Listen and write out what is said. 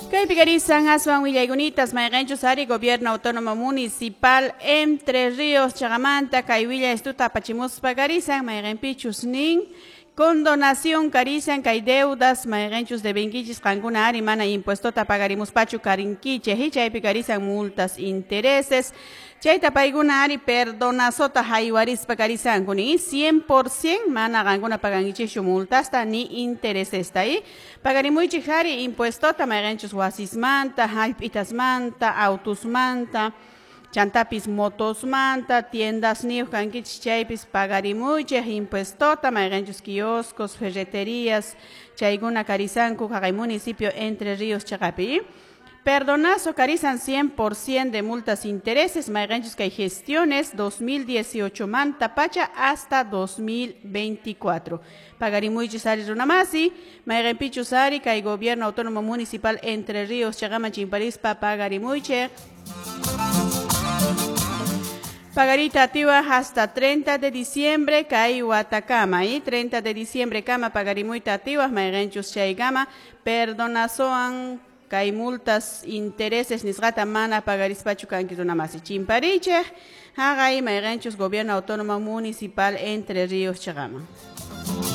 Kaypi karisan aswan willaykunitas mayqinchus ari Gobierno Autónomo Municipal Entre Ríos chaqamanta kay willay estuta apachimuspa karisan mayqinpichus nin condonación karisan kay deudas mayqinchus debenkichis qankuna ari mana impuestota pagarimuspachu karinkichej chaypi karisan multas intereses chayta paykuna ari perdonazota haywarispa karisanku ni 100% mana qankuna pagankichikchu multasta ni interesesta y pagarimuychik ari impuestota mayqinchus wasismanta hallp'itasmanta autusmanta chantapis motosmanta tiendas niyuq kankichik chaypis pagarimuychik impuestota mayqinchus kioscos ferreterías chaykuna karisanku haqay municipio Entre Ríos chaqapi. Perdonazo karisan 100% de multas intereses mayqinchus kay gestiones 2018 manta pacha hasta 2024. Pagarimuychis ari runamasi, mayqinpichus ari kay Gobierno Autónomo Municipal Entre Ríos chaqaman chimparispa pagarimuychik. Pagarita atiwa hasta 30 de diciembre kay watakama y 30 de diciembre kama pagarimuyta atiwa mayqinchus chaykama perdonazoan kay multas intereses nisqata mana pagarispachu kanki runamasi chimparichik haqay mayqinchus Gobierno Autónomo Municipal Entre Ríos chaqaman.